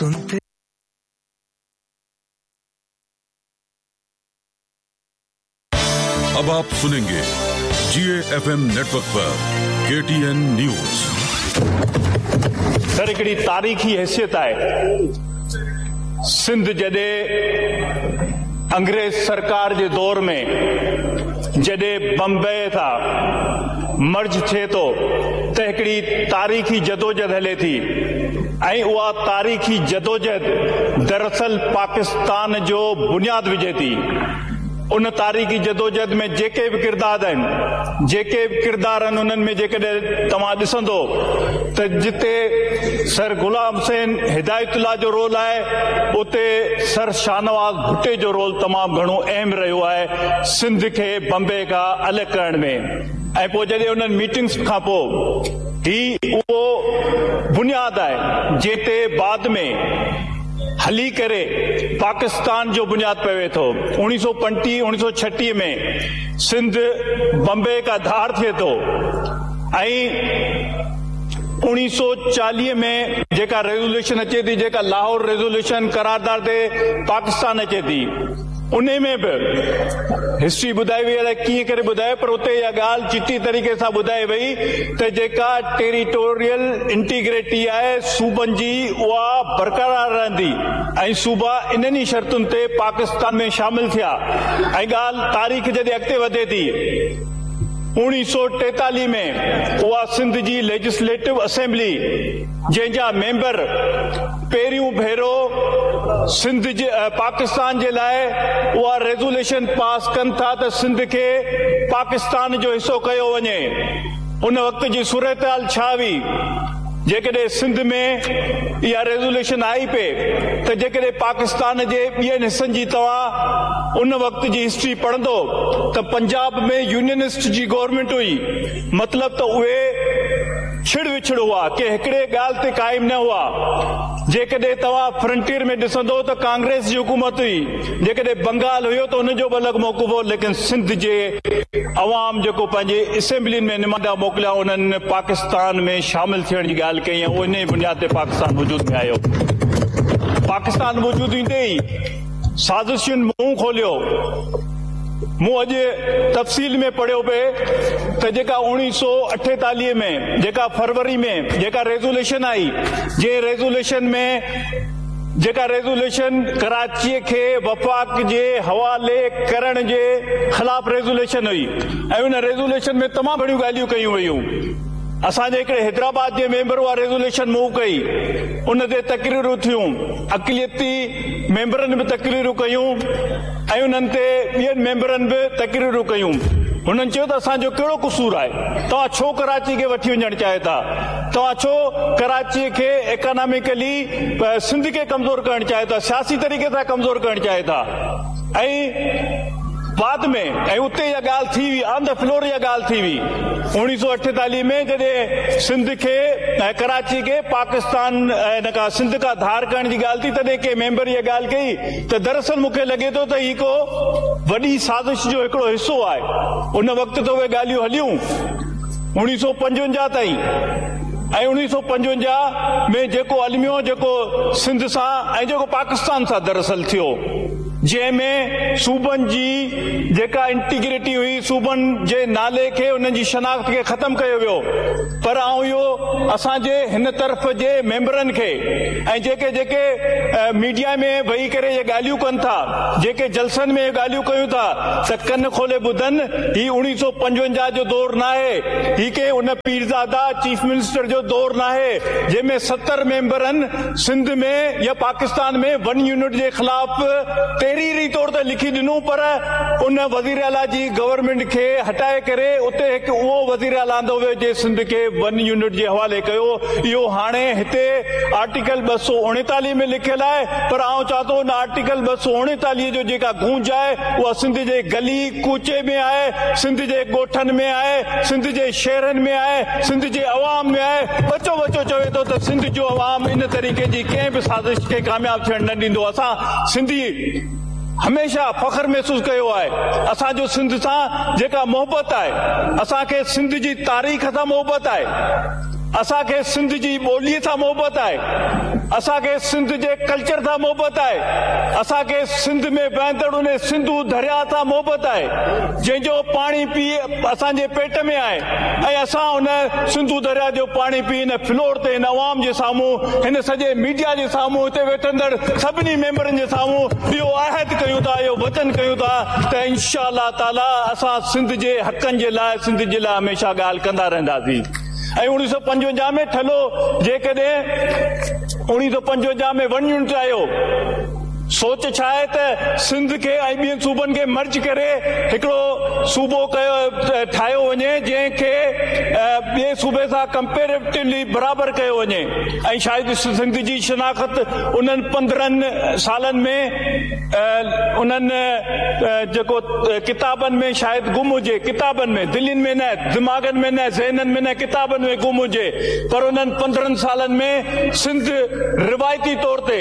सुनते। अब आप सुनेंगे जीएफएम नेटवर्क पर केटीएन न्यूज। सर हिकिड़ी तारीख़ी हैसियत आहे। सिंध जॾहिं अंग्रेज़ सरकार जे दौर में जॾहिं बम्बई सां मर्ज थिए थो त हिकिड़ी तारीख़ी जदोजहद हले थी ऐं उहा तारीख़ी जदोजहद दरअसल पाकिस्तान जो बुनियाद विझे थी। उन तारीख़ी जदोजहद में जेके बि किरदार आहिनि, जेके बि किरदार आहिनि, उन्हनि में जेकॾहिं तव्हां ॾिसंदो त जिते सर ग़ुलाम हुसैन हिदायतुल्लाह जो रोल आहे, उते सर शाहनवाज़ भुट्टे जो रोल तमामु घणो अहम रहियो आहे सिंध खे बम्बे खां अलॻि करण में। ऐं पोइ जॾहिं उन्हनि मीटिंग्स खां पोइ ही उहो बुनियाद आहे जंहिं ते बाद में हली करे पाकिस्तान जो बुनियाद पवे थो। 1935 1936 में सिंध बम्बे का धार थिए थो ऐं 1940 में जेका रेज़ोल्यूशन अचे थी, जेका लाहौर रेज़ोल्यूशन करारदार ते पाकिस्तान अचे थी, उन में बि हिस्ट्री ॿुधाई वई, अलाए कीअं करे ॿुधाए, पर उते इहा ॻाल्हि चिटी तरीक़े सां ॿुधाई वई त जेका टेरिटोरियल इंटीग्रिटी आहे सूबनि जी, उहा बरक़रार रहंदी ऐं सूबा इन्हनि ई शर्तुनि ते पाकिस्तान में शामिल थिया। ऐं ॻाल्हि तारीख़ जॾहिं अॻिते वधे थी, 1943 में उहा सिंध जी लेजिस्लेटिव असेंबली जंहिंजा मेंबर पहिरियों भेरो सिंध जे पाकिस्तान जे लाइ उहा रेज़ोल्यूशन पास कनि था त सिंध खे पाकिस्तान जो हिसो कयो वञे। उन वक़्त जी सूरत हाल छा हुई, जेकॾहिं सिंध में इहा रेज़ोल्यूशन आई पे त जेकॾहिं पाकिस्तान जे ॿियनि हिसनि जी तव्हां उन वक़्त जी हिस्ट्री पढ़ंदो त पंजाब में यूनियनिस्ट जी गवर्नमेंट हुई, मतिलबु त उहे छिड़ विछड़ हुआ, के हिकिड़े ॻाल्हि ते क़ाइम न हुआ। जेकॾहिं तव्हां फ्रंटियर में ॾिसंदो त कांग्रेस जी हुकूमत हुई, जेकॾहिं बंगाल हुयो त उनजो बि अलॻि मौक़िफ़ हो, लेकिन सिंध जे अवाम जेको पंहिंजे असेंबलियुनि में नुमाइंदा मोकिलिया, उन्हनि पाकिस्तान में शामिल थियण जी ॻाल्हि कई ऐं उन ई बुनियाद ते पाकिस्तान वजूद में आयो। पाकिस्तान वजूद ईंदे ई साज़िशुनि मुंहुं खोलियो। मूं अॼु तफ़सील में पढ़ियो पे त जेका 1948 में जेका फरवरी में जेका रेज़ोल्यूशन आई, जंहिं रेज़ोल्यूशन में जेका रेज़ोल्यूशन कराचीअ खे वफ़ाक़ जे हवाले करण जे ख़िलाफ़ रेज़ोल्यूशन हुई ऐं उन रेज़ोल्यूशन में तमामु घणियूं ॻाल्हियूं कयूं वयूं। असांजे हिकिड़े हैदराबाद जे मेंबर उहा रेज़ोल्यूशन मूव कई, उन ते तकरीरूं थियूं, अक़लियती मेंबरनि बि तकरीरूं कयूं ऐं उन्हनि ते ॿियनि मेंबरनि बि तकरीरूं कयूं। हुननि चयो त असांजो कहिड़ो कसूर आहे, तव्हां छो कराची खे वठी वञणु चाहो था, तव्हां छो कराचीअ खे इकोनॉमिकली सिंध खे कमज़ोर करणु चाहो था, सियासी तरीक़े सां कमज़ोर करणु चाहो था। ऐं बाद में ऐं उते इहा ॻाल्हि थी हुई, ऑन the floor इहा ॻाल्हि थी हुई 1948 में जॾहिं सिंध खे ऐं कराची खे पाकिस्तान हिन खां सिंध खां धार करण जी ॻाल्हि थी, तॾहिं कंहिं मेंबर इहा ॻाल्हि कई त दरअसल मूंखे लॻे थो त हीउ को वॾी साज़िश जो हिकिड़ो हिसो आहे। उन वक़्तु त उहे ॻाल्हियूं हलियूं 1955 ताईं ऐं 1955 में जेको अलमियो जेको सिंध सां ऐं जेको पाकिस्तान सां दरअसल थियो, जंहिंमें सूबनि जी जेका इंटीग्रिटी हुई, सूबनि जे नाले खे उन्हनि जी शनाख़्त खे ख़तमु कयो वियो। पर आउं इहो असांजे हिन तरफ़ जे मेंबरनि खे ऐं जेके जेके मीडिया में वेही करे इहे ॻाल्हियूं कनि था, जेके जलसनि में ॻाल्हियूं कयूं था, त कन खोले ॿुधनि, हीउ 1955 जो दौर न आहे, हीउ के उन पीरज़ादा चीफ मिनिस्टर जो दौर न आहे जंहिंमें 70 मेंबरनि सिंध में या पाकिस्तान में वन यूनिट जे ख़िलाफ़ तहरीरी तौर ते लिखी ॾिनो, पर उन वज़ीर आला जी गवर्नमेंट खे हटाए करे उते हिकु उहो वज़ीर आला आंदो वियो जंहिं सिंध खे वन यूनिट जे हवाले कयो। इहो हाणे हिते आर्टिकल 239 में लिखियलु आहे, पर आउं चवां थो उन आर्टिकल 239 जो जेका गूंज आहे उहा सिंध जे गली कूचे में आहे, सिंध जे ॻोठनि में आहे, सिंध जे शहरनि में आहे, सिंध जे अवाम में आहे। बचो बचो चवे थो त सिंध जो अवाम इन तरीक़े जी कंहिं बि साज़िश खे कामयाबु थियणु न ॾींदो। असां सिंधी हमेशा फ़ख़्र महसूस कयो आहे, असांजो सिंध सां जेका मोहबत आहे, असांखे सिंध जी तारीख़ सां मोहबत आहे। اسان کي سنڌ جي ٻوليء سان محبت آهي، اسان کي سنڌ جي ڪلچر سان محبت آهي، اسان کي سنڌ ۾ وهندڙ ان سنڌو درياء سان محبت آهي، جنهن جو پاڻي پي اسان جي پيٽ ۾ آهي ۽ اسان ان سنڌو درياء جو پاڻي پي هن فلور تي هن عوام جي سامهون هن سڄي ميڊيا جي سامهون هتي ويٺندڙ سڀني ميمبرن جي سامهون اهو عهد ڪيون ٿا اهو وچن ڪيون ٿا ته انشاء الله تعاليٰ اسان سنڌ جي حقن جي لاء سنڌ جي لاء هميشه ڳالهه ڪندا رهنداسين. ۽ 1955 ۾ ٺلهو جيڪڏهن 1955 ۾ ون يونٽ آيو سوچ ڇا آهي ته سنڌ کي ۽ ٻين صوبن کي مرج ڪري هڪڙو صوبو ڪيو ٺاهيو وڃي جنهن کي ٻئي صوبي سان ڪمپيريٽولي برابر ڪيو وڃي ۽ شايد سنڌ جي شناخت انهن 15 سالن ۾ انهن جيڪو ڪتابن ۾ شايد گم هجي، ڪتابن ۾، دلين ۾ نه، دماغن ۾ نه، ذهنن ۾ نه، ڪتابن ۾ گم هجي، پر انهن 15 سالن ۾ سنڌ روايتي طور تي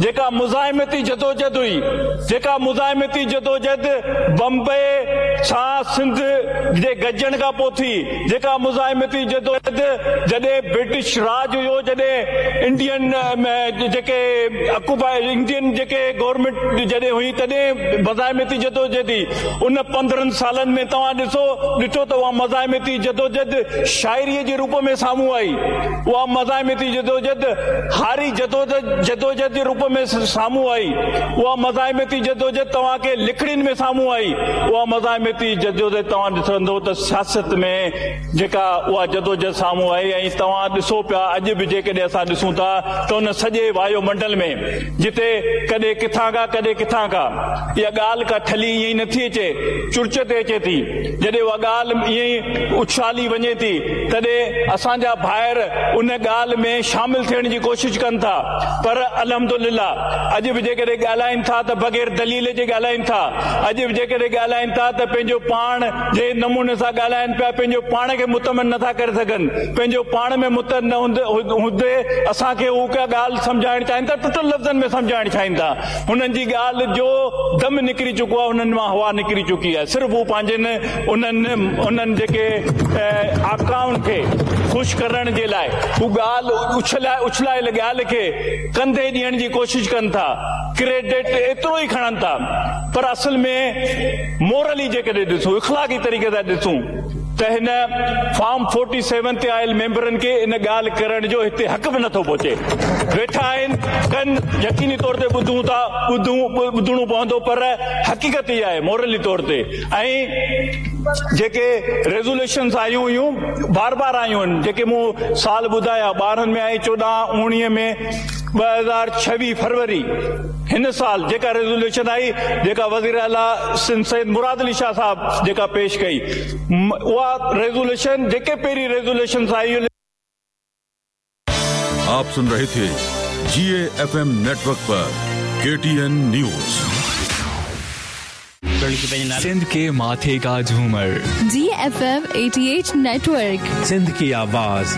جيڪا مزاحمتي جدوجھد هئي، جيڪا مزاحمتي جدوجھد بمبئي سان سنڌ جي گڏجڻ کان پوء ٿي، جيڪا مزاحمتي جدوجھد جڏهن برٽش راڄ هيو جڏهن انڊين جيڪي آڪوپائي انڊين جيڪي گورنمينٽ جڏهن هئي تڏهن مزاحمتي جدوجھد هئي ان 15 سالن ۾ توهان ڏسو ڏٺو ته اها مزاحمتي جدوجھد شاعري جي روپ ۾ سامهون آئي اها مزاحمتي جدوجھد هاري جدوجھد جي روپ ۾ سامهون آئي اها مزاحمتي جدوجھد توهان کي لکڻين ۾ سامهون آئي اها مزاحمتي جدوجھد توهان ڏسندو ته سياست ۾ جيڪا اها جدوجھد سامهون آئي ۽ توهان ڏسو پيا اڄ به جيڪڏهن اسان ڏسون ٿا ته ان سڄي وايو منڊل ۾ جتي ڪڏهن ڪٿان کان ڪڏهن ڪٿان کان اها ڳالهه ڪا ٺلهي ائين ئي نٿي اچي چرچ تي اچي ٿي جڏهن اها ڳالهه ائين ئي اڇالي وڃي ٿي تڏهن اسان جا ڀائر ان ڳالهه ۾ شامل ٿيڻ جي ڪوشش ڪن ٿا پر الحمدلله اڄ به جيڪڏهن ڳالهائين ٿا ته بغير دليل جي ڳالهائين ٿا اڄ به جيڪڏهن ڳالهائين ٿا ته پنهنجو پاڻ جنهن نموني سان ڳالهائين پيا پنهنجو پاڻ کي مطمئن نٿا ڪري سگهن پنهنجو پاڻ ۾ مطمئن نه هوندي اسان کي هو ڪا ڳالهه سمجهائڻ چاهين ٿا ٽٽل لفظن ۾ سمجهائڻ چاهين ٿا هنن جي ڳالهه جو دم نڪري چڪو آهي هنن مان هوا نڪري چڪي آهي صرف هو پنهنجن انهن انهن جيڪي آقائن کي خوش ڪرڻ جي لاء هو ڳالهه اڇلائي اڇلايل ڳالهه کي ڪنڌي ڏيڻ جي ڪوشش ڪن ٿا ڪريڊٽ ايترو ئي کڻن ٿا پر اصل ۾ مورلي جيڪڏهن ڏسون اخلاقي طريقي سان ڏسون ته هن فارم 47 تي آيل ميمبرن کي ان ڳالهه ڪرڻ جو هتي حق به نٿو پهچي. ويٺا آهن ڪن يقيني طور تي ٻڌون ٿا ٻڌڻو پوندو پر حقيقت اها آهي مورلي طور تي ۽ جيڪي ريزوليشنز آيون هيون بار بار آيون آهن جيڪي مون سال ٻڌايا 12 ۾ آئي 14 19 ۾ 2026 فروري هن سال جيڪا ريزوليوشن آئي جيڪا وزير اعليٰ سنڌ سيد مراد علي شاهه صاحب جيڪا پيش ڪئي اها ريزوليوشن جيڪي پهرين ريزوليوشنز آئي. آپ سن رهي ٿي جي اي ايف ايم نيٽورڪ پر ڪي ٽي اين نيوز. سنڌ ڪي ماٿي ڪا جهومر جي ايف ايم 88 نيٽورڪ سنڌ ڪي آواز.